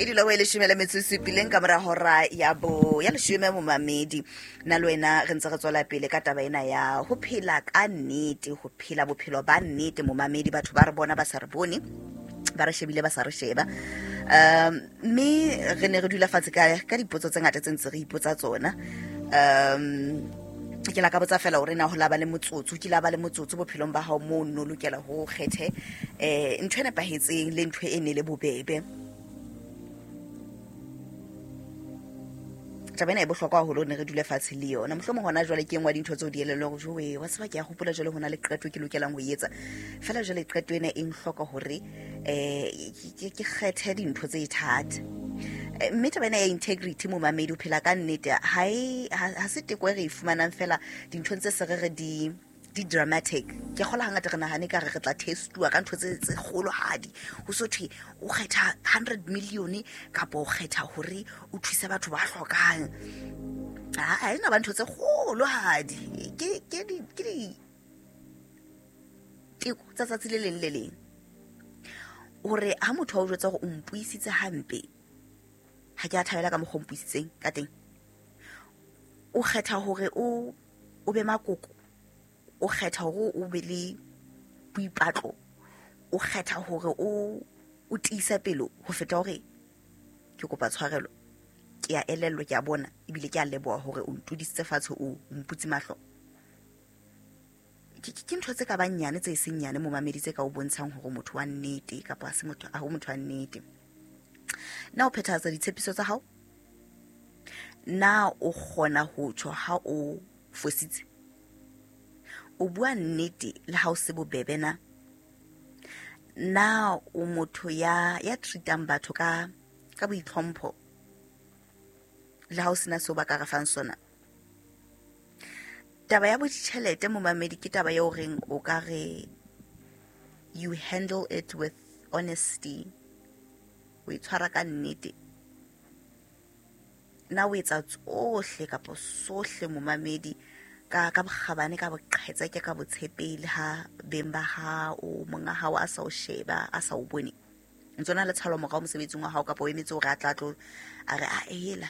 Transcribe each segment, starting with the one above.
E dula go e leshome le metso e supileng ka mora hora ya bo ya leshome. Momamedi, nna le wena re ntse re tswela pele ka taba ena ya ho phela ka nnete, ho phela bophelo ba nnete. Momamedi, batho ba re bona ba sa re bone, ba re shebile ba sa re sheba. Mme re ne re dula fatshe ka dipotso tse ngata tse ntse re ipotsa tsona. Ke la ka botsa fela hore na ho la ba le motsotso, ke la ba le motsotso bophelong ba hao moo no lokela ho kgethe ntho e nepahetseng le ntho e ne le bobebe. Taba ena e bohlokwa haholo, ne re dule fatshe le yona. Mohlomong hona jwale ke engwe ya dintho tseo di elellwa hore jowe wa tseba, ke a hopola jwale ho na le qeto ke lokelang ho e etsa. Fela jwale qeto ena e nhloka hore ke kgethe dintho tse thata. Mme taba ena ya integrity, momamedi, o phela ka nnete, ha se teko e re e fumanang fela dinthong tse se re re di dramatic. Ke kgola hangata re nahane ka re re tla testuwa ka ntho tse kgolohadi, ho so thwe o kgetha 100 million kapa o kgetha hore o thuse batho ba hlokang. Ha ena ba ntho tse kgolohadi, ke di teko tsa tsatsi le leng le leng. Hore ha motho a o jwetsa hore o mpuisitse hampe, ha ke a thabela ka mokgwa o mpuisitseng ka teng, o kgetha hore o be makoko, o kgetha hore o be le boipatlo, o kgetha hore o tiise pelo ho feta hore ke kopa tshwarelo, ke a elellwa, ke a bona ebile ke a leboha hore o ntudisitse fatshe, o mputse mahlo. Ke ntho tse ka bang nyane tse seng nyane, momamedi, tse ka o bontshang hore motho wa nnete kapa ha se motho, ha ho motho wa nnete. Na o phethahatsa ditshepiso tsa hao? Na o kgona ho tjho ha o fositse? O bua nnete le ha o se bobebe na? Na o motho ya treatang batho ka boitlhompho le ha o sena seo ba ka re fang sona? Taba ya boditjhelete, momamedi, ke taba eo reng o ka re you handle it with honesty, o e tshwara ka nnete. Na o etsa tsohle kapa sohle, momamedi, ka bokgabane, ka boqhetseke, ka botshepehi, le ha beng ba hao, monga hao a sa o sheba, a sa o bone, ntse o na le tshalo morao mosebetsing wa hao, kapa o emetse hore a tla tlo a re a hela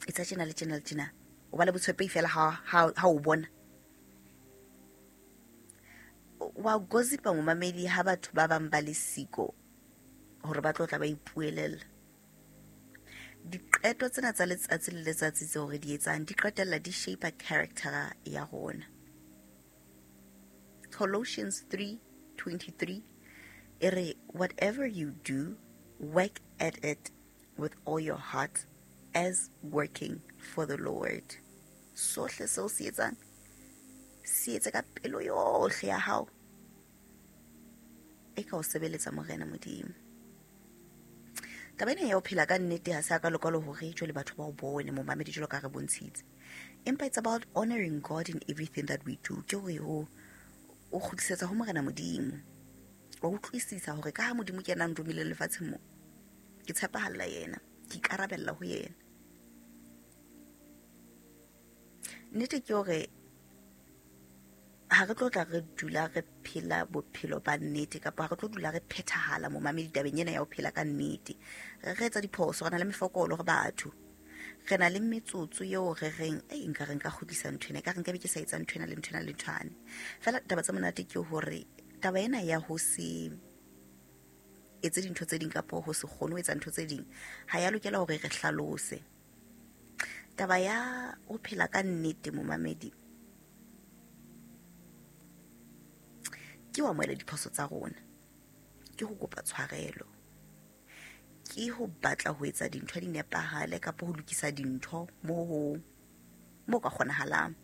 etsa tjena le tjena le tjena? O ba le botshepehi fela ha o bona wa gossipa, momamedi, ha batho ba bang ba le siko hore ba tlo tla ba ipuelella. Diqeto tsena tsa letsatsi le letsatsi tseo re di etsang di qetella di shape character ya rona. Colossians 3:23 e re, "Whatever you do, work at it with all your heart as working for the Lord." Sohle seo se etsang, se etse ka pelo yohle ya hao e ka o sebeletsa Morena Modimo. Taba ena ya ho phela ka nnete ha se a ka lokalo hore jwale batho ba o bone, momamedi, jwalo ka re bontshitse, empa it's about honoring God in everything that we do. Ke hore o kgutlisetsa ho Morena Modimo, wa utlwisisa hore ka ha Modimo ke yena a nromileng lefatsheng mo, ke tshepahalla yena, ke ikarabella ho yena. Nnete ke hore ha re tlo tla re dula re phela bophelo ba nnete, kapa ha re tlo dula re phethahala, momamedi, tabeng ena ya ho phela ka nnete. Re etsa diphoso, re na le mefokolo, re batho, re na le metsotso eo re reng ei, nka re nka kgutlisa ntho ena, ka re nka be ke sa etsa ntho ena le ntho ena le nthwane. Fela taba tse monate ke hore taba ena ya ho se etse dintho tse ding kapa ho se kgone ho etsa ntho tse ding ha ya lokela hore re hlalose. Taba ya ho phela ka nnete, momamedi, ke ho amohela diphoso tsa rona, ke ho kopa tshwarelo, ke ho batla ho etsa dintho di nepahale kapa ho lokisa dintho mo ka kgonahalang,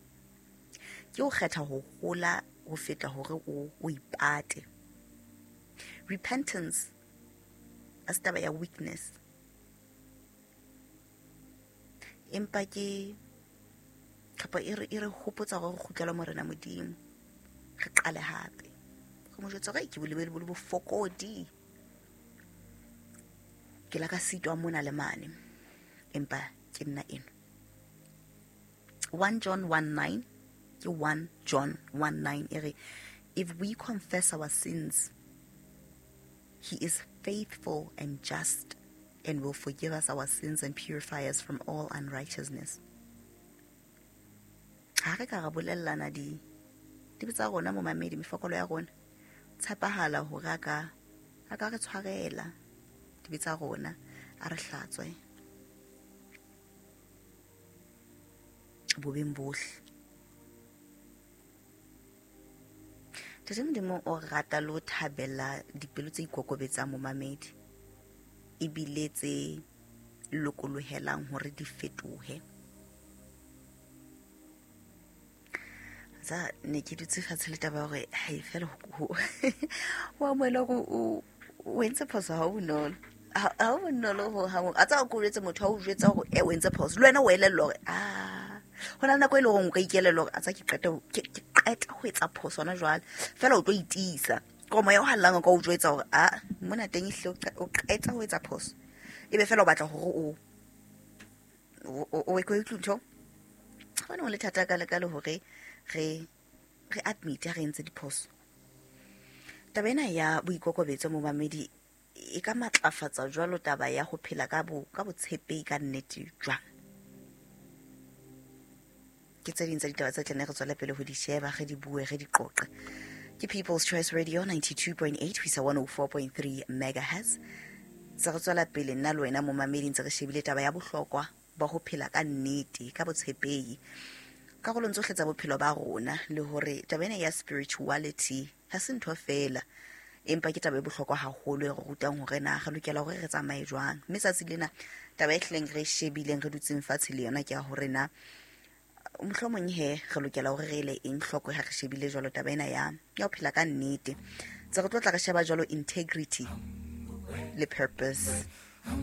ke ho kgetha ho hola ho feta hore o ipate. Repentance a se taba ya weakness, empa ke kapa e re hopotsa hore re kgutlele Morena Modimo, re qale hape, re mo jwetsa hore ke bolebele bo le bofokodi, ke la ka sitwa mona le mane, empa ke nna eno. 1 John 1:9, ke 1 John 1:9 e re, "If we confess our sins, he is faithful and just and will forgive us our sins and purify us from all unrighteousness. Ha re ka ra bolellana di dibe tsa rona, momamedi, mefokolo ya rona, tshepahala hore a ka re tshwarela dibe tsa rona, a re hlatswe bobeng bohle. Tate Modimo o rata le ho thabela dipelo tse ikokobetsang, momamedi, ebile tse lokolohelang hore di fetohe. Tsa ne ke dutse fatshe le taba ya hore hai fela ho amohela hore o entse phoso ha o bonolo, ha o bonolo ho hang. A tsa ko jwetse motho ha o jwetsa hore e o entse phoso, le wena o elellwa hore a ho na le nako e leng hore o ka ikelella hore a tsa ke qeta ho etsa phoso hona jwale, fela o tlo itiisa ke moya o hallang o ka o jwetsa hore a mona teng ehlile o qeta ho etsa phoso, ebe fela o batla hore o e ko ntho gone go le thata ka le hore re admit ha re entse diphoso. Taba ena ya boikokobetso, momamedi, e ka matlafatsa jwalo taba ya ho phela ka botshepehi ka nnete jwang? Ke tse ding tsa ditaba tse tlene re tswele pele ho di sheba, re di bue, re di qoqe. Ke People's Choice Radio, 92.8 ho isa 104.3 megahertz. Se re tswela pele nna le wena, momamedi, ntse re shebile taba ya bohlokwa ba ho phela ka nnete, ka botshepehi karolong tsohle tsa bophelo ba rona, le hore taba ena ya spirituality ha se ntho feela, empa ke taba e bohlokwa haholo e re rutang hore na re lokela hore re tsamaye jwang. Mme tsatsi lena taba e hlileng re e shebileng, re dutseng fatshe le yona, ke ya hore na mohlomong he re lokela hore re ele eng hloko ha re shebile jwalo taba ena ya ho phela ka nnete. Tse re tlo tla re sheba jwalo integrity le purpose.